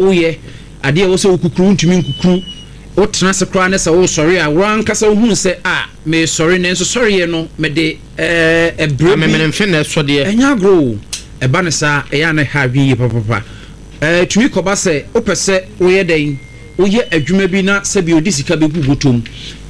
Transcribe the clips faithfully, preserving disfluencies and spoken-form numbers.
Woyɛ adeɛ a ɛwɔ sɛ wokukuru, ntumi nkukuru. Wotena ase koraa ne sɛ wosɔre a, woankasa wohunu sɛ a mesɔre, nanso sɔreɛ no mede ɛɛ ɛbrɛ bi. Amemene mfe na ɛsɔ deɛ. Ɛnyɛ agorɔ o. Ɛba ne saa, ɛyɛ a na ɛha adwene yie papapa. ɛɛ tumi kɔba sɛ wopɛ sɛ woyɛ dɛn, woyɛ adwuma bi na sɛbi odi sika bɛgu bɔtɔm,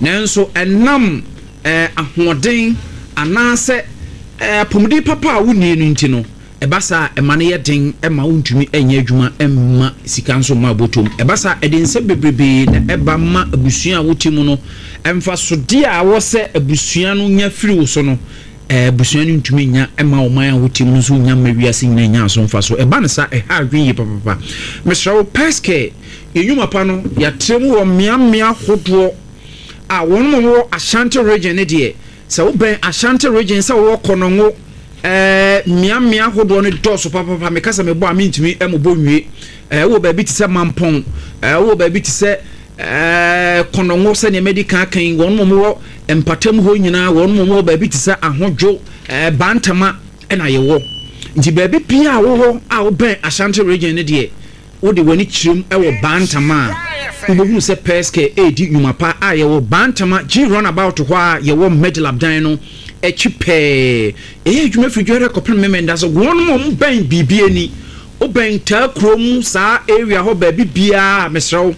nanso ɛnam ɛɛ ahoɔden anaasɛ ɛɛ apɔmuden papa a wonnie no nti no, ɛba saa, ɛma no yɛ den ɛma wontumi ɛnyɛ adwuma, ɛmma sika nso mma bɔtɔm. Ɛba saa, ɛde nsɛm bebrebee na ɛba ma abusua a wote mu no. Ɛmfasodeɛ a wɔ sɛ abusua no nya firi wo so no, ɛɛ abusua no ntumi nya, ɛma ɔman a wote mu no nso nya, ma wiase nyinaa nya aso mfa so. Ɛba no saa, ɛha adwene yie papapa. Mesrɛ wo, Pɛskɛ yɛn nnwuma pa no, yɛatrɛ mu wɔ mmeammea hodoɔ a wɔn mo wɔ Ashanti Region ne deɛ, sɛ wobɛn Ashanti Region, sɛ wowɔ Kɔnɔngo, ɛɛ mmeammea ahodoɔ no dɔɔso papapa. Meka sɛ mebɔ a, mentumi ɛmobɔ nwie. ɛɛ wowɔ baabi te sɛ Mampɔn, ɛɛ wowɔ baabi te sɛ ɛɛ Kɔnɔngo, sɛnea mɛdi kan kan, wɔn mo wɔ mpatam hɔ nyinaa, wɔn mo wɔ baabi te sɛ Ahodwo, ɛɛ Bantama ɛna yɛwɔ. Nti baabi pia a wowɔ a wobɛn Ashanti Region ne deɛ, wode w'ani kyerɛm ɛwɔ Bantama a, wobɛhunu sɛ Pɛskɛ ɛredi nnwuma pa a yɛwɔ Bantama G roundabout hɔ a yɛwɔ Medilab dan no akyi pɛɛ. Ɛyɛ adwuma firi Dware kɔpem Memenda so. Wɔn mo bɛn biribi ani, wobɛn taa kurom saa area hɔ baabi biara, mesrɛ wo,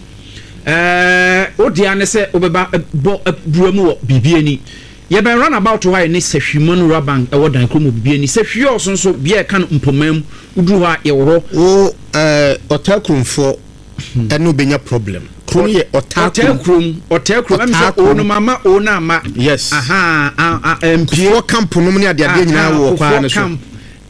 ɛɛ wode ane sɛ wobɛba bɔ bura mu wɔ biribi ani. Yɛbɛn roundabout hɔ a yɛne Sahwiman Rural Bank ɛwɔ dan kurom wɔ biribi ani. Sahwi ɔso nso bea ɛka no Mpɔman mu, woduru hɔ a, yɛwɔ hɔ. Wo ɛɛ Ɔtaa kuromfoɔ ɛne wobɛnya problem. Kuro no yɛ Ɔtaa. Ɔtaa kurom, Ɔtaa kurom, ɛmi sɛ o no mama o na ama. Yes. Aha, a a mpie. Kufuor Camp nom ne adeadeɛ nyinaa wɔ kwan no so. Camp,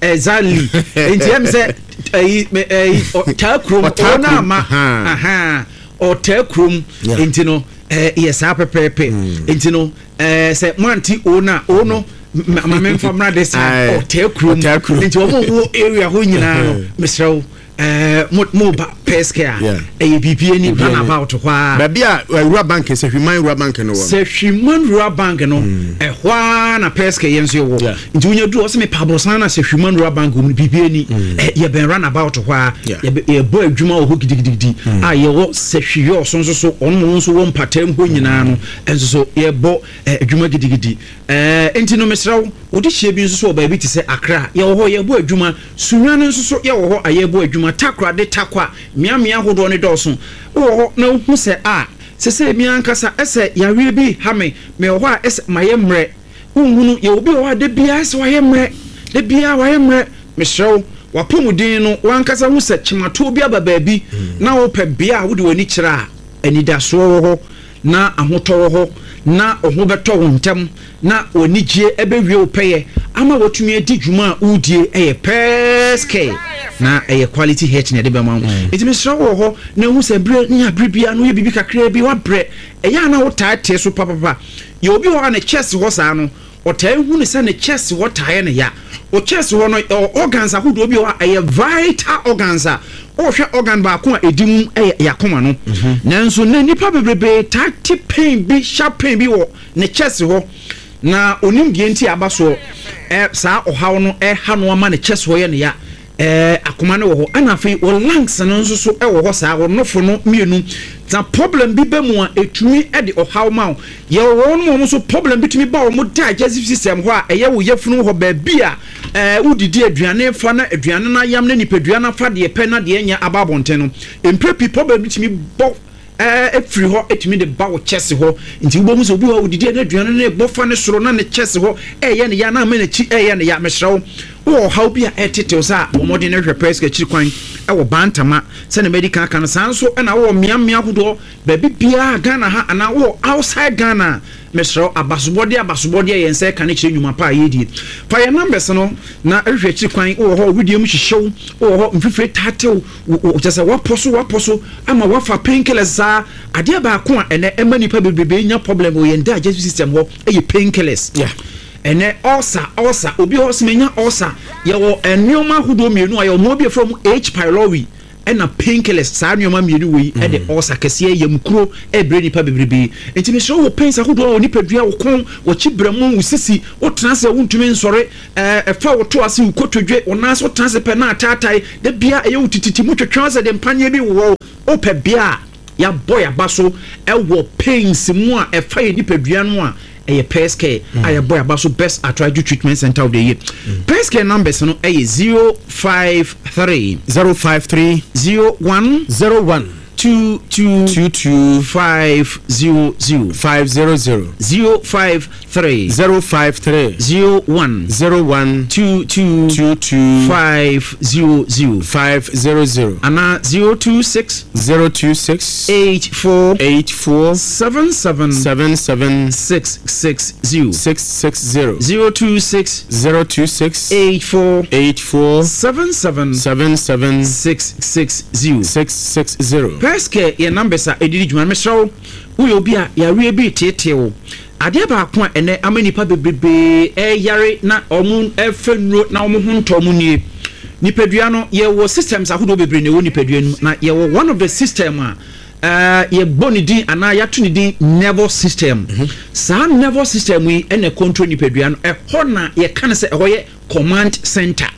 exactly. Nti ɛmi sɛ ɛyi ɛyi Ɔtaa kurom. Ɔtaa o na kurom, ama. Aha. Aha, Ɔtaa kurom. Yeah. Nti no ɛɛ yɛ saa pɛpɛɛpɛ. Nti no ɛɛ sɛ moante o na o no, ma me nfa mmra de saa. Aye. Ɔtaa kurom. Ɔtaa kurom. Nti wɔn a wɔwɔ area hɔ nyinaa no, mesrɛ wo, ɛɛ mo mo ba Pɛskɛ a, Yeah. ɛyɛ biribi ani roundabout hɔ a. Baabi a Rural Bank, sɛ Hwiman Rural Bank no wɔ no. Sɛ Hwiman Rural Bank no, ɛhɔ ara na Pɛskɛ yɛn nso yɛwɔ. Yeah. Nti wonya duru ɔsɛ mepa aborosan na sɛ Hwiman Rural Bank wɔ mu no, biribi ani ɛ yɛbɛn roundabout hɔ a. Yeah. yɛbɛ- yɛbɔ adwuma wɔ hɔ gidigidigidi a yɛwɔ sɛ hwiyɛ ɔso nso so, ɔno mo nso wɔ mpatam hɔ nyinaa no ɛnso so yɛbɔ ɛ, adwuma gidigidi. ɛɛ nti no mesrɛ wo, wode hyia bi nso so wɔ baabi te sɛ Accra, yɛwɔ hɔ yɛbɔ adwuma. Sunyani nso so yɛwɔ hɔ a yɛbɔ adwuma. Takorade, Takwa, mmeammea ahodoɔ no dɔɔso. Wowɔ hɔ na wohu sɛ a sɛ sɛ mi ankasa ɛsɛ yareɛ bi ha me, mewɔ hɔ a ɛsɛ mayɛ mmerɛ, wohunu yɛwɔ bi wɔ hɔ a da biara sɛ wayɛ mmerɛ, da biara wayɛ mmerɛ. Mesrɛ wo, wapɔmuden no, wankasa hu sɛ kyematoɔ bi aba baabi na wopɛ bea a wode w'ani kyerɛ a anidasoɔ wɔ hɔ na ahotɔ wɔ hɔ na ɔho bɛtɔ wo ntɛm na w'anigye ɛbɛwie wo pɛyɛ ama watumi adi dwuma a wodie, ɛyɛ Pɛskɛ na ɛyɛ quality health na ɛde bɛma wo. Nti mesrɛ wo, wɔ hɔ na ehu sɛ berɛ ne abere biara no woyɛ biribi kakraa bi wabrɛ, ɛyɛ a na wotaa te so papapa. Yɛ obi wɔ hɔ a ne chest hɔ saa no, ɔtaa hu ne sɛ ne chest hɔ taeɛ ne ya. O chest hɔ no, ɛwɔ organs ahodoɔ bi wɔ hɔ a ɛyɛ vital organs a ɔhwɛ organ baako a ɛdi mu ɛyɛ yakoma no, nanso na nipa bebrebe taa te pain bi, sharp pain bi wɔ ne chest hɔ na onim deɛ nti aba soɔ. ɛ saa ɔhaw no ɛha no ama ne chest hɔ yɛ ne ya. ɛɛ akoma no wɔ hɔ, ɛna afei wɔ lungs no nso so ɛwɔ hɔ saa, wɔ nofo no mmienu na problem bi bɛ mu a etumi ɛde ɔhaw ma wo. Yɛwɔ wɔn mu a wɔn nso problem bi tumi ba wɔn digestive system hɔ a ɛyɛ wɔ yafunu hɔ, baabi a ɛɛ wodidi aduane fa na aduane no ayam na nipadua no afa deɛ pɛ na deɛ nyɛ aba abɔnten no. Mpere pii problem bi tumi bɔ ɛɛ efiri hɔ, etumi de ba wɔ chest hɔ. Nti wobɛhu sɛ obi wɔ hɔ a odidi na aduane no bɔ fa ne soro na ne chest hɔ ɛyɛ ne ya na ama n'akyi ɛyɛ ne ya. Mesrɛ wo, wowɔ ɔhaw bi a ɛtetew sɛ a, bɔ mmɔden no hwɛ Pɛsika akyiri kwan ɛwɔ Bantama sɛne mɛdi kan ka no saa nso. Ɛna wowɔ mmeammea ahodoɔ baabi biara Ghana ha anaa wowɔ outside Ghana a, mesrɛ wo, abasobɔdeɛ abasobɔdeɛ yɛn nsa ɛka ne kyerɛ nnwuma pa a yɛdie. Fa yɛn numbers no na ɛhwehwɛ akyiri kwan. Wowɔ hɔ, widie mu hyehyɛw, wowɔ hɔ mfifire taatew, kyɛ sɛ wapɔ so wapɔ so ama wafa painkillers saa. Adeɛ baako a ɛnɛ ɛma nipa bebrebe nya problem wɔ yɛn digestive system hɔ ɛyɛ painkillers. Yeah. Ɛnɛ ulcer, ulcer, obi hɔ sɛ menya ulcer. Yɛwɔ nneɛma ahodoɔ mmienu a yɛwɔ mmoa bi a yɛfrɛ mu H. pylori. Ɛna painkillers, saa nneɛma mmienu wei ɛde ɔsa kɛseɛ, yam kuro, ɛbrɛ nipa bebrebe. Nti mesrɛ, wɔ pains ahodoɔ wɔ nipadua, wo kɔn, wɔkyi brɛmu, wo sisi, wotena ase a wontumi nsɔre, ɛɛ ɛfa wo to ase, wo kotodwe, wo nan ase, wotena ase pɛ na ataatae da bia, ɛyɛ wo tititi mu twetwe sɛ de mpaneɛ bi wɔ wo. Wopɛ bea a yɛabɔ yɛaba so ɛwɔ pains mu a ɛfa yɛ nipadua no a, ɛyɛ Pɛs a yɛbɔ yɛaba so, Best Arthritis Treatment Center of the Year. Pɛs Care numbers no ɛyɛ zero five three zero five three zero one zero one two two two two five zero zero. five zero zero. zero five three zero five three zero one zero one two two two two five zero zero. five zero zero. Anaa zero two six zero two six eight four eight four seven seven seven seven six six zero. six six zero. zero two six zero two six eight four eight four seven seven seven seven six six zero. six six zero. Pɛskɛ yɛ numbers a ɛdidi dwuma. Mesrɛ wo, woyɛ obi a yareɛ bi teetee wo, adeɛ baako a ɛnɛ ama nipa bebrebee ɛyare na ɔmo ɛfɛ nnuro na ɔmo ho ntɔ ɔmo nie. Nipadua no, yɛwɔ systems ahodoɔ bebree na ɛwɔ nipadua no mu, na yɛwɔ one of the system a uh, yɛbɔ ne din anaa yɛato ne din nervous system. Saa nervous system yi ɛna control nipadua no. Ɛhɔ na yɛka no sɛ ɛhɔ yɛ command center.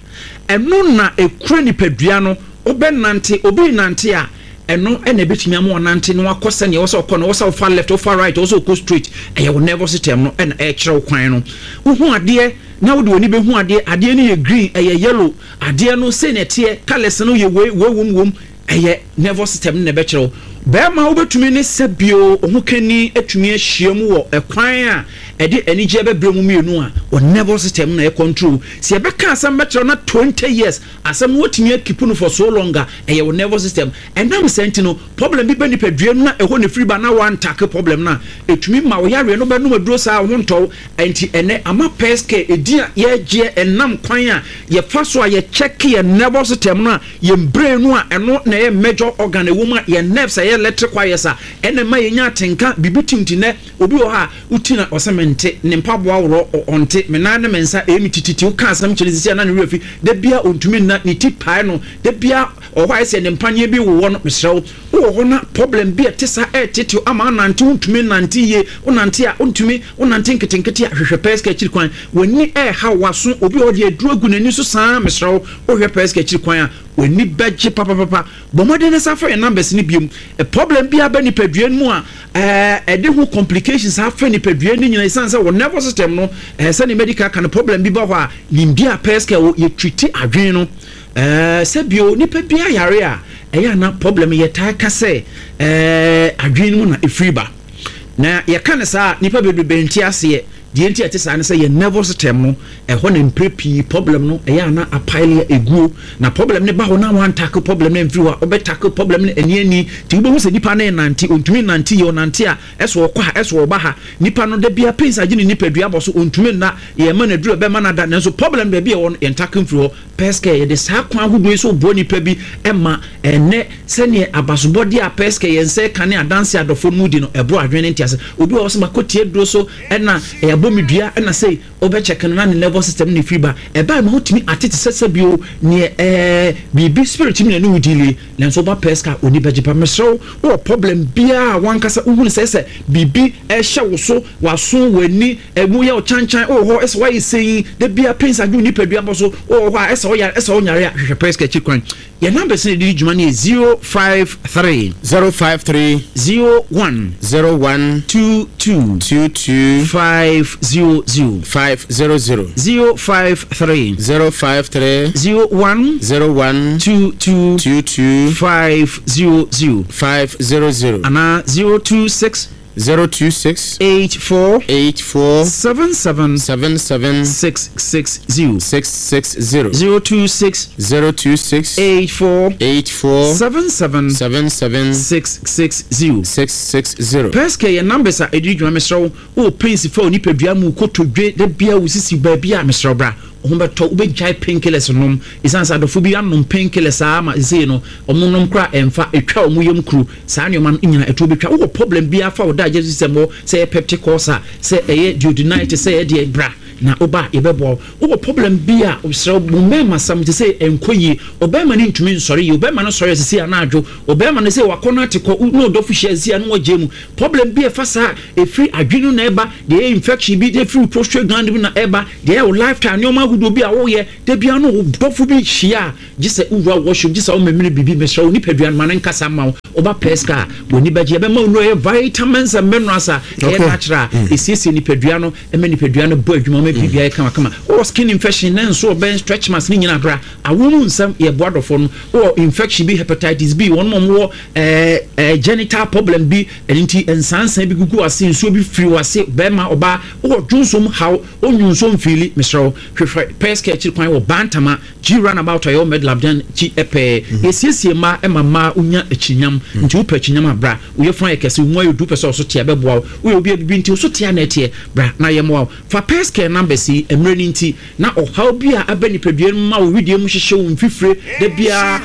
Ɛno na ekura nipadua no. Wobɛnante, obi nante a, ɛno ɛna ebɛtumi ama ɔnante na wakɔ sɛnea ɛwɔ sɛ ɔkɔ no. Ɛwɔ sɛ ɔfa left, ɔfa right, ɛwɔ sɛ ɔkɔ straight, ɛyɛ wo nervous system no ɛna ɛkyerɛ wo kwan no. Wohu adeɛ na wode w'ani bɛhu adeɛ, adeɛ no yɛ green, ɛyɛ yellow, adeɛ no sɛ na ɛteɛ, colours no yɛ wei wei wom wom, ɛyɛ nervous system no na ɛbɛkyerɛ wo. Bɛrima, wobɛtumi ne sɛ bio ɔho kani atumi ahyia mu wɔ ɛkwan a ɛde anigyeɛ bɛbrɛ mu mmienu a, wɔ nervous system no na ɛyɛ control. Sɛ yɛbɛka asɛm bɛkyerɛ na twenty years asɛm no watumi akeep no for so long a, ɛyɛ wɔ nervous system. Ɛnam sɛ nti no, problem bi bɛ nipadua no na ɛhɔ ne firi ba na wantackle problem no a, ɛtumi ma wo yareɛ no bɛnom aduro saa wo ho ntɔw. Ɛnti ɛnɛ ama Pɛskɛ ɛdin a yɛgyeɛ ɛnam kwan a yɛfa so a yɛkyɛke yɛ nervous system no a, yɛn brain no a ɛno na ɛyɛ major organ ɛwɔ mu a, yɛn nerves a ɛyɛ electric wires a ɛna ma yɛnya atenka biribi timti. Nɛ obi wɔ hɔ a woti na ɔsɛ mente ne mpaboa worɔ, ɔnte me nan ne me nsa ɛyɛ me tititi. Woka asɛm kyerɛ sisi a na ne werɛ fi da bia, ɔntumi nna, ne ti pae no da bia, ɔhɔ ayɛ sɛ ne mpaneɛ bi wowɔ no. Mesrɛ wo, wowɔ hɔ na problem bi a ɛte saa ɛɛtete ama anante, wontumi nante yie, wonante a wontumi, wonante nketenkete a, hwehwɛ Pɛska akyiri kwan. W'ani ɛɛha, waso, obi a ɔde aduro agu n'ani so saa, mesrɛ wo, wohwɛ Pɛska akyiri kwan a, w'ani bɛgye papapapa. Bɔ mmɔden ne sa fa yɛn numbers no biom. Problem bi aba nipadua no mu a ɛɛ ɛde ho complications afa nipadua no nyinaa, ɛsiane sɛ wɔ nervous system no, ɛɛ sɛne medical ka no, problem bi ba hɔ a, nimdeɛ a Pɛska wɔ, yɛtreat adwene no. ɛɛ sɛbio nipa bi ayare a ɛyɛ ana problem, yɛtaa ka sɛ ɛɛ adwene no mu na ɛfiri ba, na yɛka ne saa, nipa bebrebe nte aseɛ. Deɛ nti ɛte saa ne sɛ yɛn nervous system no, ɛhɔ na mpere pii problem no ɛyɛ ana apaele eguo, na problem no ba hɔ na wantackle problem no mfiri hɔ a, ɔbɛtackle problem no ani ani. Nti wobɛhu sɛ nipa no nante, ɔntumi nante yie, ɔnante a ɛsɛ ɔkɔ ha, ɛsɛ ɔba ha. Nipa no da bia pains agye ne nipadua bɔ so, ɔntumi nna. Yɛma no aduru ɛbɛma no ada, nanso problem baabi a ɛwɔ no, yɛntackle mfiri hɔ. Pɛskɛ yɛde saa kwan ahodoɔ yi so boa nipa bi ɛma ɛnɛ sɛneɛ abasobɔdeɛ a Pɛskɛ yɛn nsa ka ne adanse adɔfoɔ no mu di no, ɛboro adwene ne ntease. Obi wɔ hɔ sɛ makɔtie duro so ɛna ɛyɛbɔ me dua ɛna sɛ wobɛkyɛke no na ne nervous system ne firi ba ɛbaa ma wotumi atete sɛ sɛ bio neɛ ɛɛ biribi spirit mu na ne wo deal. Nanso woba Pɛska, oni bɛgye pa. Mesrɛ wo, wowɔ problem biara a wankasa wohunu sɛ sɛ biribi ɛhyɛ wo so, waso, w'ani ɛmu yɛ wo kyankyan, wowɔ hɔ ɛsɛ woayɛ sɛyi da bia pains adwo nipadua bɔ so, wowɔ hɔ a ɛsɛ woyare, ɛsɛ wonyare a, hwehwɛ Pɛska akyi kwan. Yɛn numbers no yɛde dwuma no yɛ zero five three zero five three zero one zero one two two two two five zero zero. five zero zero. zero five three zero five three zero one zero one two two two two five zero zero. five zero zero. Anaa zero two six zero two six eight four eight four seven seven seven seven six six zero. six six zero. zero two six zero two six eight four eight four seven seven seven seven six six zero. six six zero. Pɛskɛ yɛ numbers a ɛdi dwuma. Mesrɛ wo, wowɔ pains fa wo nipadua mu, kotodwe da bia, wo sisi baabi a, mesrɛ wo, bra, wo ho bɛtɔ. Wobɛgyae painkillers nom, ɛsiane sɛ adɔfo bi anom painkillers saa ma sesei no ɔmo nom kora ɛmfa, ɛtwa ɔmo yam kuro. Saa nneɛma no nyina ɛto bɛtwa. Wowɔ problem biara fa wo digestive system hɔ, sɛ ɛyɛ peptic ulcer, sɛ ɛyɛ duodenitis, sɛ ɛyɛ deɛ, bra. Na woba a, yɛbɛboa wo. Wowɔ problem bi a srɛ wo mmarima sam te sɛ ɛnkɔ yie, ɔbɛrima no ntumi nsɔre yie, ɔbɛrima no sɔre asisi anadwo, ɔbɛrima no sɛ wakɔ no ate kɔ na ɔdɔfo hyia asisi a na wɔgye mu, problem bi a ɛfa saa ɛfiri adwene no na ɛba deɛ, ɛyɛ infection bi ɛfiri prostate gland bi na ɛba deɛ, ɛyɛ wo lifetime nneɛma ahodoɔ bi a woyɛ da bia no wo dɔfo bi hyia a, gye sɛ wowura washroom, gye sɛ womamene biribi. Mesrɛ wo, nipadua no ma no nkasa ma wo. Woba pɛska a, w'ani bɛgye. Yɛbɛma wo nnuro, ɛyɛ vitamins and minerals a ɛyɛ natural a ɛsiesie nipadua no, ɛma nipadua no bɔ adwuma ma biribia yɛ kamakama. Wowɔ skin infection ne nso ɔbɛn stretch marks ne nyinaa, bra. Awo mu nsɛm, yɛboa dɔfoɔ no. Wowɔ infection bi, hepatitis B, wɔn mo wɔ ɛɛ ɛɛ genital problem bi, ɛno nti nsansan bi gugu ase, nsuo bi firi wase, bɛrima, ɔbaa, wowɔ dwonsom haw, onyonsom mfiili, mesrɛ wo, hwehwɛ Pɛska akyiri kwan wɔ Bantama G roundabout a yɛwɔ Medlab dan akyi pɛɛ. Yɛsiesie mmaa ma mmaa wonya akyinyam, nti wopɛ akyinyam a, bra. Woyɛ funu ayɛ kɛse, wo mu ayɛ du, pɛ sɛ ɔso teɛ, bɛboa wo. Woyɛ obi a bibi nti wo so teɛ na ɛteɛ, bra na yɛmmoa wo. Fa Pɛska numbers yi, mmerɛ no nti na ɔhaw bi a aba nipadua no mu ma wo wedeɛ mu hyehyɛ wo mfifire da biara,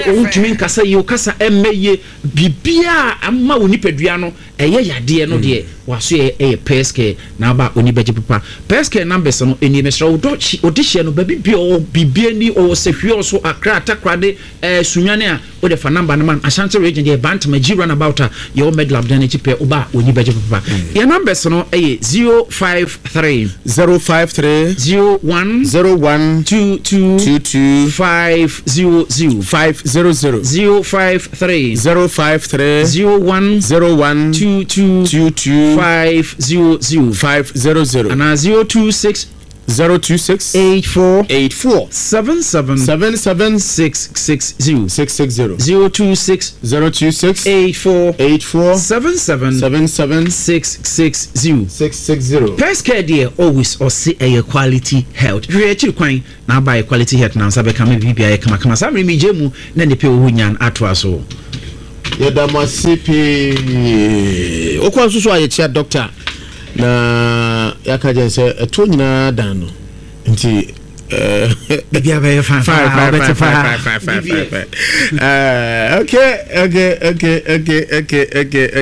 wontumi nkasa yie, wo kasa ɛmmɛ yie, biribiaa ama wo nipadua no ɛyɛ yadeɛ no deɛ, waso yɛ ɛyɛ Pɛska na aba, oni bɛgye papa. Pɛska numbers no ɛnie. Mesrɛ wo, dɔ ɔde hyɛ no baabi bi a ɔwɔ biribi ani, ɔwɔ Sɛhwie, ɔso Akra, Takorade, ɛɛ Sunyane a, wode fa number no ma no. Ashanti Region deɛ, Bantama G roundabout a yɛwɔ Medlab dan akyi pɛ, woba a, oni bɛgye papa. Yɛ numbers no ɛyɛ zero five three zero five three zero one zero one two two two two five zero zero five zero zero zero five three zero five three zero one zero one two two two two five zero zero five zero zero anaa zero two six zero two six eight four eight four seven seven seven seven six six zero six six zero zero two six zero two six eight four eight four seven seven seven seven six six zero six six zero. Pɛskɛ deɛ, always ɔse ɛyɛ quality health. Hwɛ akyiri kwan na aba yɛ quality health na nsa bɛka ma biribia yɛ kamakama. Saa mmere megye mu na nipa ɛwɔ hɔ nyan atoa so. Yɛda mo ase pii. Wokɔ nso so a, yɛkyia doctor na yɛaka gyɛn sɛ ɛtoɔ nyinaa dan no nti eh, biribia bɛyɛ fine. Fine, fine, wobɛte fine, fine, fine, fine, fine, fine. Uh, okay, okay, okay, okay, okay, okay, okay.